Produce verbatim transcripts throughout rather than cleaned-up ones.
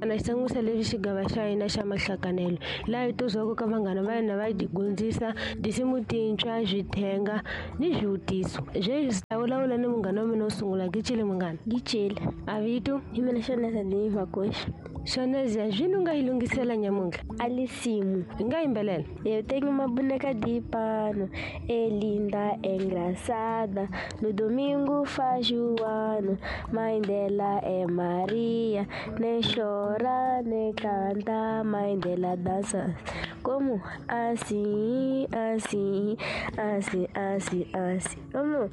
Na xitlangusa lexi xigava xa hina xa mahlakanelo laha hi tozwaka ka vanghana va hina va hi dyondzisa tinsimu tintshwa swithenga ni swivutiso sweswi ta vulavula ni munghana wa mina wo sungula Gicile munghana. Gicile. A vito? Hi mina Shoneza ni Makoshi. Shoneza zwini u nga yi lunghisela nyamuntlha? A lisimu. Hi nga yimbelela? Eu tenho uma boneca de pano, é linda, é engraçada. No domingo faz o ano, mãe dela é Maria. Nem chora, nem canta, mãe dela dança. Como? Assim, assim, assim, assim, assim. Como?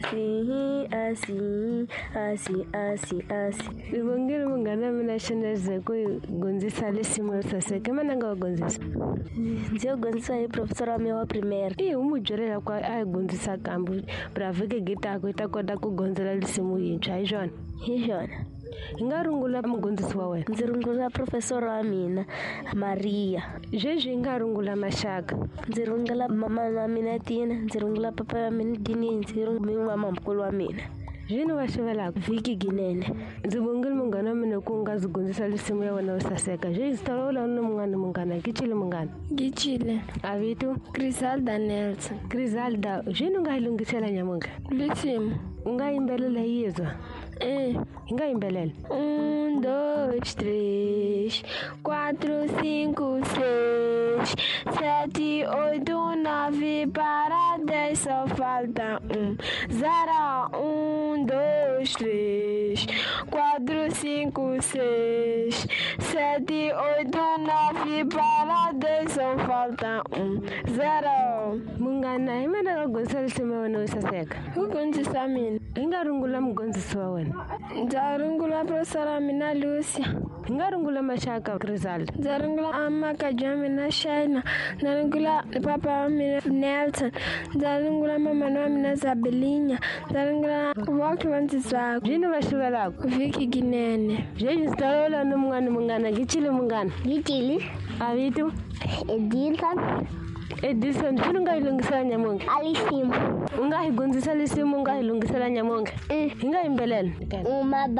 Assim, assim, assim, assim, assim. Ni vongile munghana wa mina Shoneza ku hi dyondzisa risimu ro saseka. I mani a nga wa dyondzisa? Ndzi yo dyondzisa hi professor wa mina wa primary. I u n'wi byele leswaku a hi dyondzisa kambe bravike gitaku yi ta kota ku gondzela risimu yintshwa hi swona? Hi swona. Hi nga rungula mudyondzisi wa wena? Ndzi rungula professor wa mina Maria. Sweswi hi nga rungula maxaka? Ndzi rungula mama wa mina Tina, ndzi rungula papa wa mina Dini, ndzi rungula mamamkulu wa mina. Zwini va xivelaka? Vhiki Ginene. Ndzi vongile munghana wa mina ku nga ndzi dyondzisa risimu ya wena yo saseka. Sweswi ndzi ta vulavula ni munghana munghana Gicile munghana. Gicile. A vito? Griselda Nelson. Griselda, zwini u nga yi lunghisela nyamuntlha? Risimu. U nga yimbelela hi yizwa? É. Hi nga yimbelela? Um, dois, três, quatro, cinco, seis, sete, oito, nove, para dez, só falta um. Zero, um, dois, três, quatro, cinco, seis, sete, oito, nove, para dez, só falta um. Zero. Munghana, hi mani a nga dyondzisa risimu ya wena yo saseka? Ku dyondzisa mina. Hi nga rungula mudyondzisi wa wena? Ndza rungula professor wa mina Lucia. Hi nga rungula maxaka Griselda? Ndza rungula amakaji wa mina Shaina. Ndza rungula papa wa mina Nelson. Ndza rungula mamana wa mina Zabelinya. Ndza rungula vonke va ndzi twaka. Zwini va xivelaka? Vhiki Ginene. Sweswi ndzi ta vulavula ni munghana munghana Gicile munghana. Gicile. A vito? Edilson. Edison, swini u nga yi lunghisela nyamuntlha? A lisimu. U nga hi dyondzisa risimu u nga hi lunghisela nyamuntlha? Mm. Hi nga yimbelela? Uma